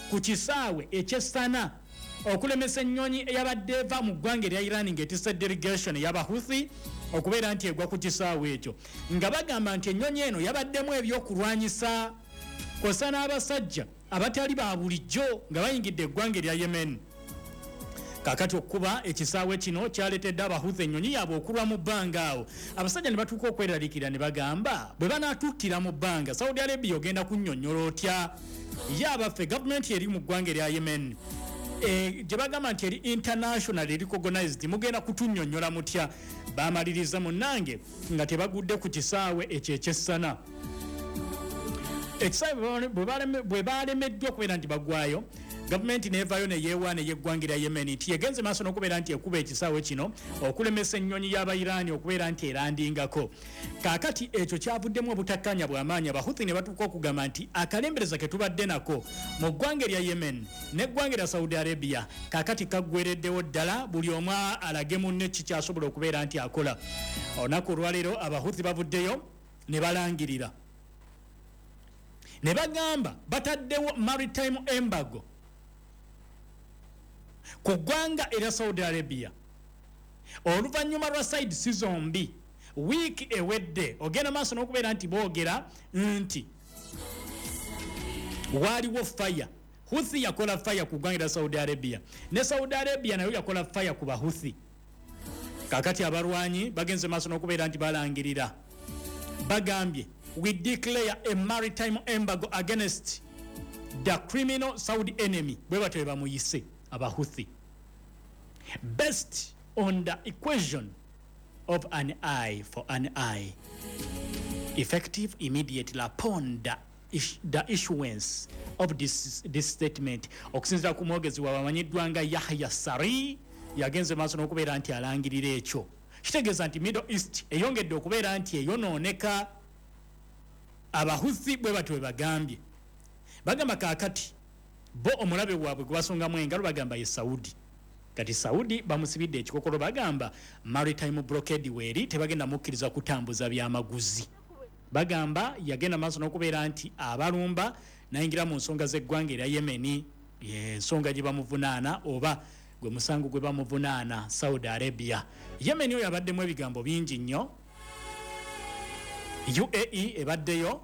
Ku kisaawe eky'e Sana okulemesa ennyonyi eyabadde eva mu ggwanga erya Iran ng'etisse delegation ey'Abahuthi okubeera nti egwa ku kisaawe ekyo, nga bagamba nti ennyonyi eno yabaddemu ebyokulwanyisa kwossa n'abasajja abatali ba bulijjo nga bayingidde eggwanga erya Yemen. Kakati okukuba ekisaawe kino kyaleetedde Abahuthi ennyonyi yaabwe okulwa mu bbanga. Awo abasajja ne batuuka okweraliikirira ne bagamba, bwe banaatuttira mu bbanga, Saudi Arabia ogenda kunnyonnyola otya? Ye abaffe, gavumenti eri mu ggwanga erya Yemen gye bagamba nti eri international recognized, mugenda kutunnyonnyola mutya? Bamaliriza munnange nga tebagudde ku kisaawe ekyo eky'e Sana. Ekisaawe bwe balemeddwa okubeera nti bagwayo, gavumenti neevaayo neyeewaana ey'eggwanga erya Yemen nti yegenze maaso n'okubeera nti ekuba ekisaawe kino okulemesa ennyonyi y'Abairaani okubeera nti erandingako. Kaakati ekyo kyavuddemu obutakkanya bw'amaanyi. Abahuthi ne batuuka okugamba nti akalembereza ke tubadde nako mu ggwanga erya Yemen n'eggwanga erya Saudi Arabia kaakati kaggwereddewo ddala, buli omu alage munne kikyasobola okubeera nti akola. Olunaku olwaleero Abahuthi bavuddeyo ne balangirira ne bagamba bataddewo maritime embargo ku ggwanga erya Saudi Arabia oluvannyuma lwa sides zombi wiiki ewedde ogenda maaso n'okubeera nti boogera nti waaliwo fire. Huthi yakola fire ku ggwanga erya Saudi Arabia, ne Saudi Arabia nayo yakola fire ku Bahuthi. Kakati abalwanyi bagenze maaso n'okubeera nti balangirira, bagambye, "We declare a maritime embargo against the criminal Saudi enemy," bwe batyo bwe bamuyise Abahuthi, "based on the equation of an eye for an eye, effective immediately upon the issuance of this statement." Okusinziira ku mwogezi waabwe amanyiddwa nga Yahya Sari, yagenze maaso n'okubeera nti alangirira ekyo. Kitegeeza nti Middle East eyongedde okubeera nti eyonooneka. Abahuthi bwe batyo bwe bagambye. Bagamba kaakati bo omulabe waabwe gwe basongamu engalo bagamba ye Saudi. Kati Saudi bamusibidde ekikokolo, bagamba maritime blockade weeri, tebagenda mukkiriza kutambuza byamaguzi. Bagamba yagenda maaso n'okubeera nti abalumba nayingira mu nsonga z'eggwanga erya Yemeni, ensonga gye bamuvunaana oba gwe musango gwe bamuvunaana Saudi Arabia. Yemeni oyo abaddemu ebigambo bingi nnyo. UAE ebaddeyo,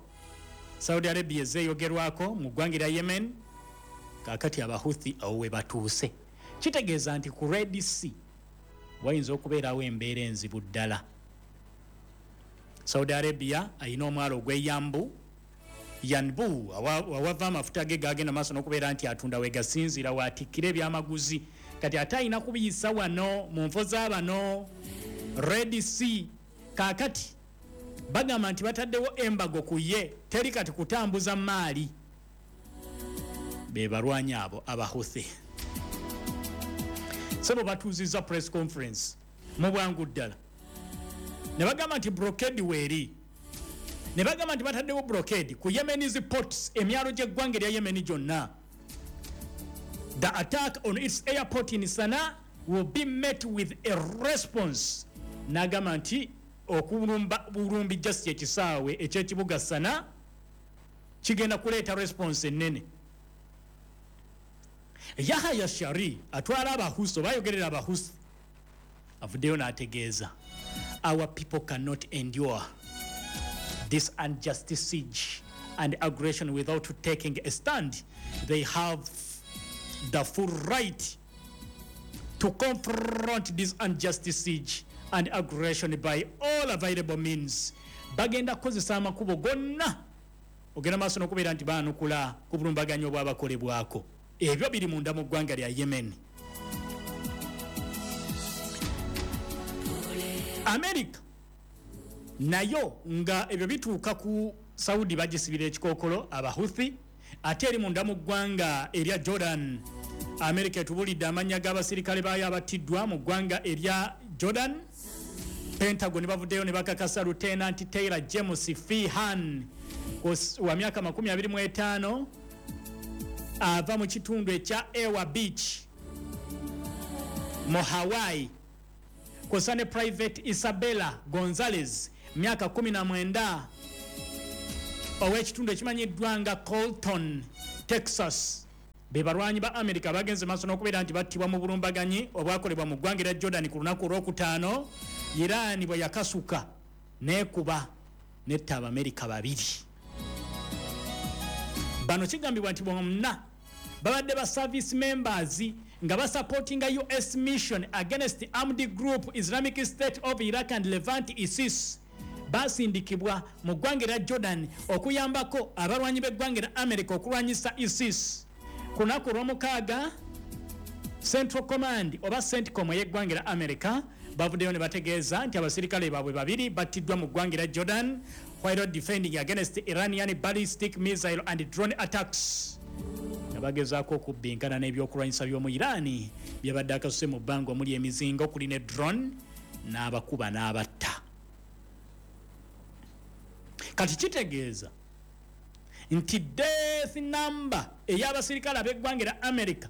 Saudi Arabia ezeeyogerwako mu ggwanga erya Yemen. Kaakati Abahuthi awo we batuuse, kitegeeza nti ku Red Sea wayinza okubeerawo embeera enzibu ddala. Saudi Arabia ayina omwalo ogw'e Yanbu, Yanbu awava amafuta ge gagenda maaso n'okubeera nti atunda, wegasinziira waatikkira ebyamaguzi. Kati ate ayina kubiyisa wano mu nfo z'abano Red Sea. Kaakati bagamba nti bataddewo embargo ku ye, teri kati kutambuza maali. Be balwanyi abo Abahuthi sebo batuuzizza press conference mu bwangu ddala ne bagamba nti blockade weeri, ne bagamba nti bataddewo blockade ku Yemen's ports, emyalo gy'eggwanga erya Yemeni gyonna. The attack on its airport in Sana will be met with a response. N'agamba nti okulumba bulumbi just ekisaawe ekyekibuga Sana kigenda kuleeta response ennene. Yahaya Shari atwala Abahusi oba ayogerera Abahusi avuddeyo n'ategeeza, "Our people cannot endure this unjust siege and aggression without taking a stand. They have the full right to confront this unjust siege and aggression by all available means." Bagenda kukozesa amakubo gonna ogenda maaso n'okubeera nti baanukula ku bulumbaganyi obwabakolebwako. Ebyo biri munda mu ggwanga lya Yemen. America nayo nga ebyo bituuka ku Saudi bagisibira ekikookolo Abahuthi. Ate eri munda mu ggwanga erya Jordan, America etubulidde amannya g'abasirikale baayo abattiddwa mu ggwanga erya Jordan. Pentagon bavuddeyo ne bakakasa Lieutenant Taylor James Feehan wa myaka 25, ava mu kitundu ekya Ewa Beach mu Hawaii, kwossa ne Private Isabella Gonzales, myaka 19, ow'ekitundu ekimanyiddwa nga Colton, Texas. Be balwanyi ba Amerika bagenze maaso n'okubeera nti battibwa mu bulumbaganyi obwakolebwa mu ggwanga erya Jordan ku lunaku olwokutaano, Iran bwe yakasuka n'ekuba netta Abamerika babiri. Bano kigambibwa nti bonna babadde ba service members nga basupportinga US mission against armed group Islamic State of Iraq and Levant, ISIS. Basindikibwa mu ggwanga erya Jordan okuyambako abalwanyi b'eggwanga erya America okulwanyisa ISIS. Ku lunaku olwomukaaga, Central Command oba CENTCOM ey'eggwanga erya America bavuddeyo ne bategeeza nti abasirikale baabwe babiri battiddwa mu ggwanga erya Jordan while defending against Iranian ballistic missile and drone attacks, nga bagezaako okubbinkana n'ebyokulwanyisa by'omu Iran byabadde akasuse mu bbanga, omuli emizinga, okuli ne drone, n'abakuba n'abatta. Kati kitegeeza nti death number ey'abasirikale ab'eggwanga erya America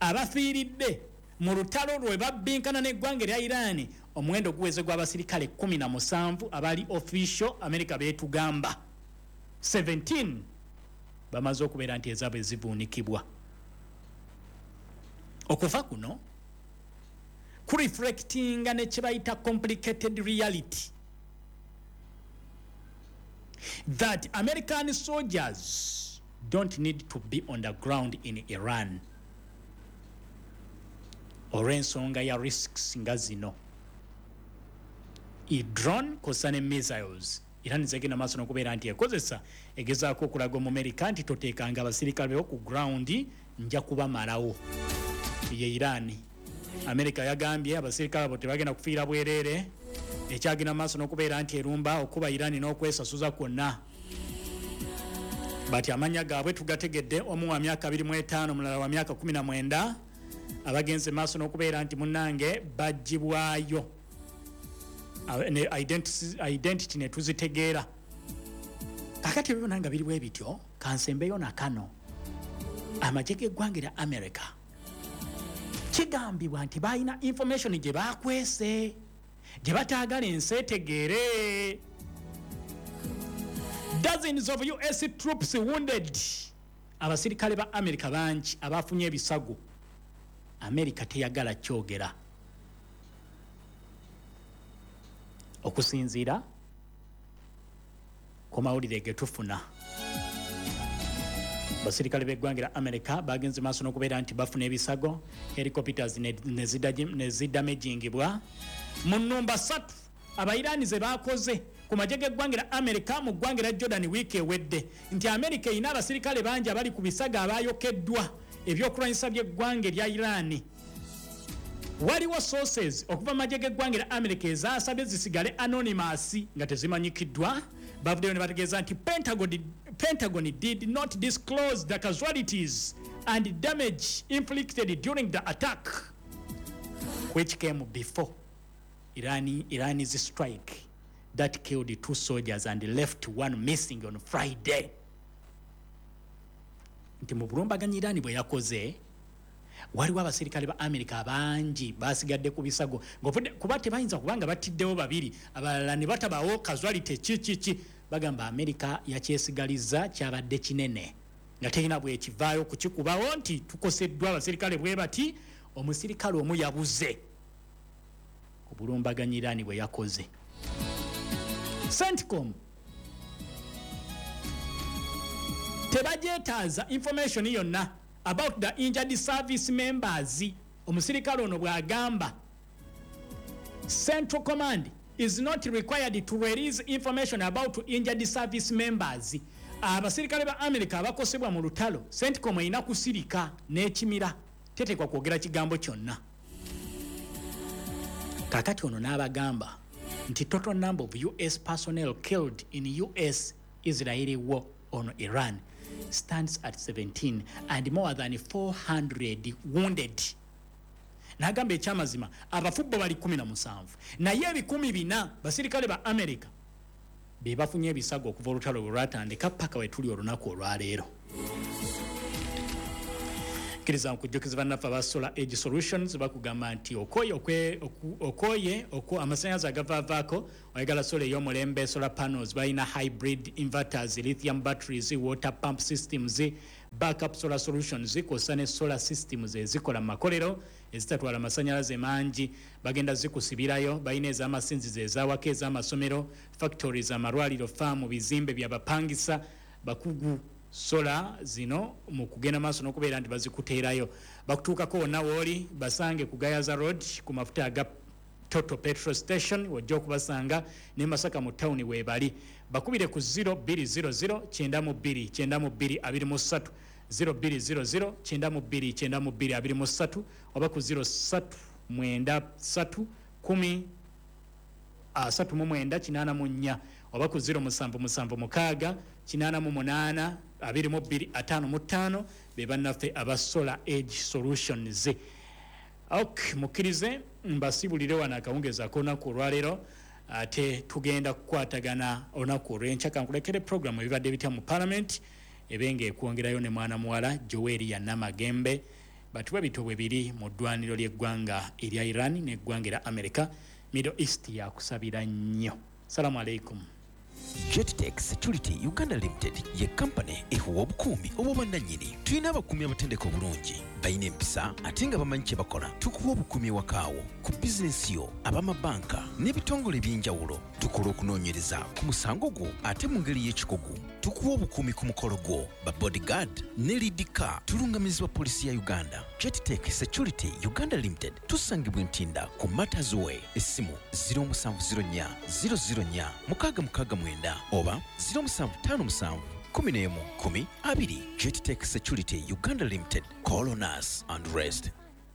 abafiiridde mu lutalo lwe babbinkana n'eggwanga erya Iran, omuwendo guweze gw'abasirikale 17 abali official. America beetugamba 17 bamaze okubeera nti ezaabwe zivuunikibwa. Okuva kuno kureflectinga ne kyebayita complicated reality that American soldiers don't need to be on the ground in Iran, olw'ensonga ya risks nga zino, drone kosa ne missiles Iran zegenda maaso n'okubeera nti ekozesa, egezaako okulaga Omumerika nti toteekanga abasirikale bewo ku ground, nja kubamalawo. Ye Iran. Amerika yagambye abasirikale abo tebagenda kufiira bwereere. Ekyagenda maaso n'okubeera nti erumba okuba Iran n'okwesasuza kwonna. Bati amanya gaabwe tugategedde: omu wa myaka 25, omulala wa myaka 19, abagenze maaso n'okubeera nti munnange bagibwayo identity ne tuzitegeera. Kakati ebyo byonna nga biri bwe bityo, kansembeyo nakano: amagye g'eggwanga erya America kigambibwa nti balina information gye bakwese, gye bataagala ensi etegeere. Dozens of US troops wounded. Abasirikale ba America bangi abafunye ebisago, America teyagala kyogera. Okusinziira ku mawulire getufuna, abasirikale b'eggwanga lya America bagenze maaso n'okubeera nti bafuna ebisago, helicopters ne zidamagingibwa mu nnumba 3 Abairani ze bakoze ku magye g'eggwanga lya America mu ggwanga lya Jordan wiiki ewedde, nti America erina abasirikale bangi abali ku bisago abayokeddwa ebyokulwanyisa by'eggwanga erya Irani. Waliwo sources okuva mu magye g'eggwanga lya America ezasabye zisigale anonymous, nga tezimanyikiddwa, bavuddeyo ne bategeeza nti Pentagon did not disclose the casualties and damage inflicted during the attack, which came before Iran's strike that killed two soldiers and left one missing on Friday. Nti mu bulumbaganyi Iran bwe yakoze, waliwo abasirikale ba America bangi basigadde ku bisago. Kuba tebayinza kubanga batiddewo babiri, abalala ne batabawo casualty kikiki. Bagamba America yakyesigaliza kyabadde kinene, nga terina bwekivaayo kukikubawo nti tukoseddwa abasirikale bwe bati, omusirikale omu yabuze ku bulumbaganyi Iran bwe yakoze. CENTCOM tebagyetaaza information yonna about the injured service members. Omusirikale ono bw'agamba, Central Command is not required to release information about injured service members. Abasirikale ba America abakosebwa mu lutalo, CENTCOM erina kusirika n'ekimira, tetekwa kwogera kigambo kyonna. Kakati ono n'abagamba nti total number of US personnel killed in US Israeli war on Iran stands at 17 and more than 400 wounded. N'agamba ekyamazima abafu bo bali 17, naye 400 basirikale ba America be bafunye ebisago okuva olutalo bwe lwatandika paka we tuli olunaku olwaleero. Kkiriza nkujjukiza bannaffe aba Solar Age Solutions, bakugamba nti okoye okoye amasannyalaze agavaavaako, oyagala solar ey'omulembe, solar panels, balina hybrid inverters, lithium batteries, water pump systems. Backup Solar Solutions kwossa ne solar systems ezikola mu makolero ezitatwala masanyalaze mangi, bagenda zikusibirayo. Balina ez'amasinzizo, ez'awaka, ez'amasomero, factories, amalwaliro, faamu, bizimbe byabapangisa. Bakugu solar zino mu kugenda maaso n'okubeera nti bazikuteerayo, bakutuukako wonna wooli. Basange ku Gayaza Road ku mafuta aga Total petrol station, wojja okubasanga. Ne Masaka mu tawuni weebali. Bakubire ku 0200 92 92 23, 0200 92 92 23, oba ku 03 93 10 39 84, oba ku 0776 88 22 55. Be bannaffe aba Solar Age Solutions. Ok, mukkirize mbasibulire wano akawungezi ak'olunaku olwaleero, ate tugenda kukwatagana olunaku olw'enkya. Kankulekere programu ebibadde bitya mu Parliament, ebe nga ekwongerayo ne mwana muwala Joeri Yanamagembe. Batuwe bito bwe biri mu ddwaniro ly'eggwanga erya Iran n'eggwanga erya America. Middle East yakusabira nnyo. Salamu aleikum. Jettech Security Uganda Limited ye kampani ekuwa obukuumi obw'obwannannyini. Tulina abakuumi abatendeka obulungi, balina empisa ate nga bamanyi kye bakola. Tukuwa obukuumi ewakaawo, ku bizinensi yo, ab'amabanka n'ebitongole eby'enjawulo. Tukola okunoonyereza ku musango gwo ate mu ngeri y'ekikugu. Tukuwa obukuumi ku mukolo gwo, ba bodyguard ne lead car. Tulungamizibwa poliisi ya Uganda. Jettech Security Uganda Limited tusangibwa Ntinda ku Matters Way. Essimu 0704 004 669 oba 0757 11 10 20. Jettech Security Uganda Limited. Call on us and rest.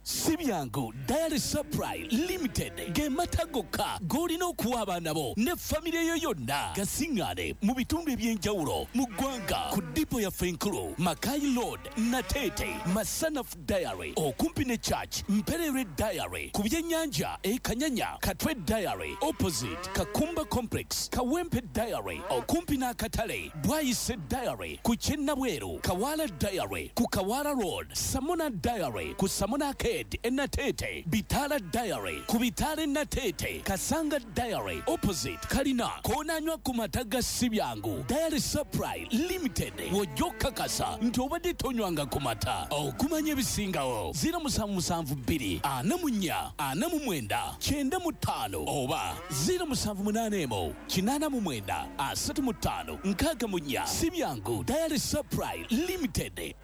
Si byangu Dairy Supply Limited ge mata gokka g'olina okuwa abaana bo ne famire yo yonna. Gasiŋŋaane mu bitundu eby'enjawulo mu ggwanga ku dipo yaffe enkulu, Makai Road, Nateete, Masanaf Dairy okumpi ne church, Mpererwe Dairy ku byennyanja e Kanyanya, Katwe Dairy opposite Kakumba Complex, Kawempe Dairy okumpi n'akatale, Bwayise Dairy ku Kyennabweru, Kawala Dairy ku Kawala Road, Samona Dairy ku Samona Arcade e Nateete, Bitala Dairy ku Bitala e Nateete, Kasanga Dairy opposite Kalina. Koonanywa ku mata ga Sibyangu Dairy Supply Limited, wojja okukakasa nti obadde tonywanga ku mata. Okumanya ebisingawo, 0772 44 49 95 oba 0781 89 35 64. Sibyangu Dairy Supply Limited.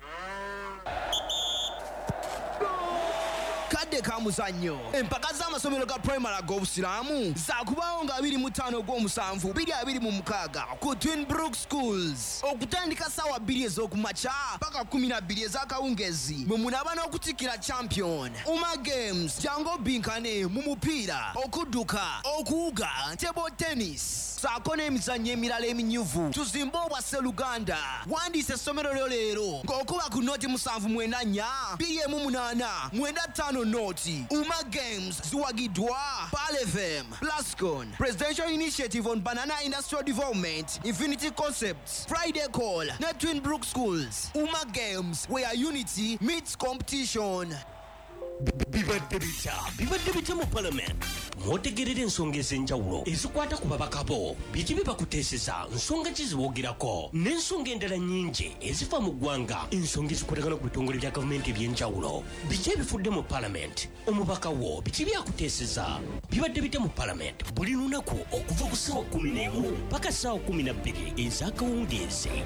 Kadde ka muzannyo. Empaka z'amasomero ga primary ag'obusiraamu zaakubaawo nga 25 ogw'omusanvu 2026 ku Twin Brook Schools, okutandika ssaawa 2 ez'okumakya paka 12 ez'akawungezi, mwe munaaba n'okutikkira champion. Uma Games, jangu obinkane mu mupiira, okudduka, okuwuga, table tennis saako n'emizannyo emirala eminyuvu. Tuzimbe obwasseluganda. Wandiisa essomero lyo leero ng'okuba ku 079 4 18 95 0. Uma Games ziwagiddwa Palefm, Plascon, Presidential Initiative on Banana Industrial Development, Infinity Concepts, Friday Call ne Twin Brook Schools. Uma Games, where unity meets competition. Bibadde bitya? Bibadde bitya mu Parliament? Mwotegerera ensonga ez'enjawulo ezikwata ku babaka bo. Biki bye bakuteeseza? Nsonga ki ziboogerako n'ensonga endala nnyingi ezifa mu ggwanga, ensonga ezikwatagana ku bitongole bya gavumenti eby'enjawulo? Biki ebifudde mu Parliament? Omubaka wo biki byakuteeseza? Bibadde bitya mu Parliament, buli lunaku okuva ku ssaawa 11 paka ssaawa 12 ez'akawungeezi.